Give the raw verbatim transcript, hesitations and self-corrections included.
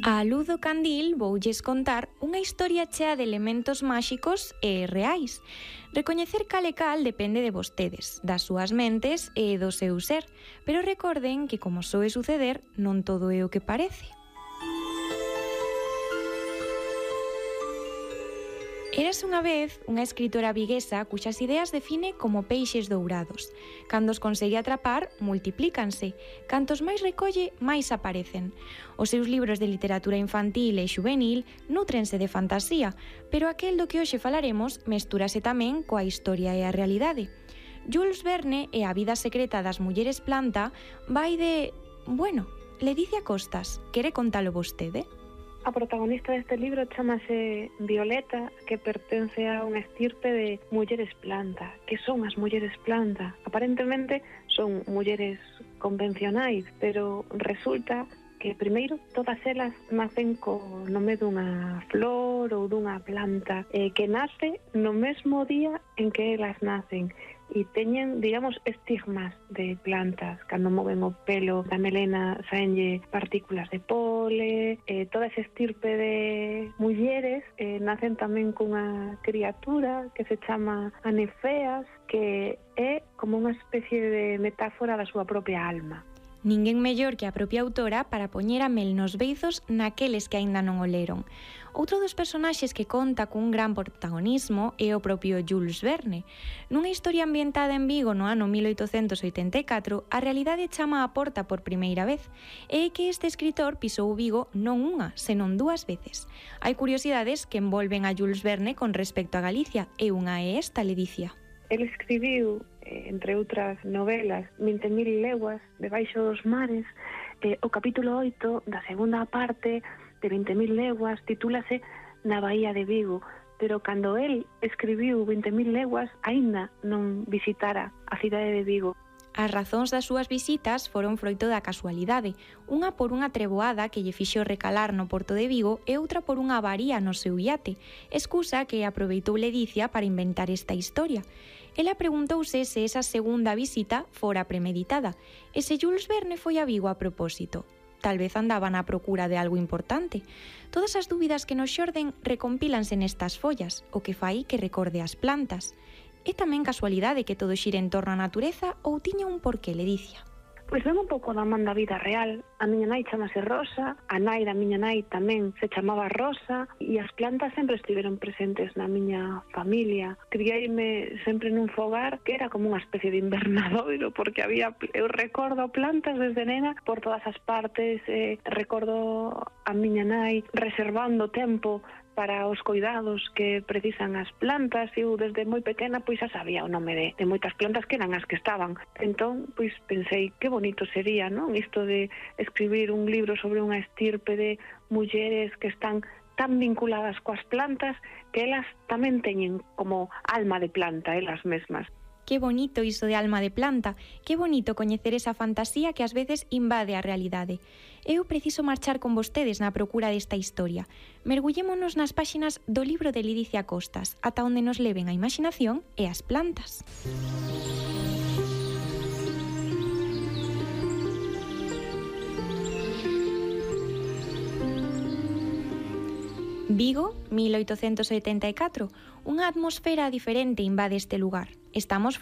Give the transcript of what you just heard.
Á luz do candil voulles contar unha historia chea de elementos máxicos e reais. Recoñecer cal e cal depende de vostedes, das súas mentes e do seu ser, pero recorden que, como soe suceder, non todo é o que parece. Érase unha vez unha escritora viguesa cuxas ideas define como peixes dourados. Cando os consegue atrapar, multiplícanse. Cantos máis recolle, máis aparecen. Os seus libros de literatura infantil e xuvenil nútrense de fantasía, pero aquel do que hoxe falaremos mestúrase tamén coa historia e a realidade. Jules Verne e a vida secreta das mulleres planta vai de... Bueno, Ledicia Costas, quere contalo vostede? A protagonista deste libro chamase Violeta, que pertence a unha estirpe de mulleres planta. Que son as mulleres planta? Aparentemente son mulleres convencionais, pero resulta que primeiro todas elas nacen co nome dunha flor ou dunha planta eh, que nace no mesmo día en que elas nacen e teñen, digamos, estigmas de plantas. Cando moven o pelo da melena saenlle partículas de pole, eh, toda esa estirpe de mulleres eh, nacen tamén cunha criatura que se chama Anefeas, que é como unha especie de metáfora da súa propia alma. Ninguén mellor que a propia autora para poñer a mel nos beizos naqueles que aínda non o leron. Outro dos personaxes que conta cun gran protagonismo é o propio Jules Verne. Nunha historia ambientada en Vigo no ano mil oitocentos oitenta e catro, a realidade chama á porta por primeira vez. É que este escritor pisou Vigo non unha, senón dúas veces. Hai curiosidades que envolven a Jules Verne con respecto a Galicia, e unha é esta, Ledicia. El escribiu, entre outras novelas, vinte mil leguas debaixo dos mares. Eh, o capítulo oito da segunda parte de vinte mil leguas titúlase Na Bahía de Vigo, pero cando el escribiu vinte mil leguas aínda non visitara a cidade de Vigo. As razóns das súas visitas foron froito da casualidade, unha por unha treboada que lle fixo recalar no porto de Vigo e outra por unha avaría no seu iate, excusa que aproveitou Ledicia para inventar esta historia. Ela preguntouse se esa segunda visita fora premeditada e se Jules Verne foi a Vigo a propósito. Tal vez andaban á procura de algo importante. Todas as dúbidas que nos xorden recompílanse nestas follas, o que fai que recorde as plantas. É tamén casualidade que todo xire en torno á natureza ou tiña un porqué, Ledicia? Pois ven un pouco da man da vida real. A miña nai chamase Rosa, a nai da miña nai tamén se chamaba Rosa, e as plantas sempre estiveron presentes na miña familia. Criaime sempre nun fogar que era como unha especie de invernadoiro, porque había, eu recordo plantas desde nena por todas as partes, eh, recordo a miña nai reservando tempo para os cuidados que precisan as plantas. Eu desde moi pequena pois xa sabía o nome de, de moitas plantas que eran as que estaban. Entón, pois pensei que bonito sería, non? Isto de escribir un libro sobre unha estirpe de mulleres que están tan vinculadas coas plantas que elas tamén teñen como alma de planta elas mesmas. Que bonito iso de alma de planta, que bonito coñecer esa fantasía que ás veces invade a realidade. Eu preciso marchar con vostedes na procura desta historia. Mergullémonos nas páxinas do libro de Ledicia Costas, ata onde nos leven a imaginación e as plantas. Vigo, mil oitocentos oitenta e catro. Unha atmosfera diferente invade este lugar. Estamos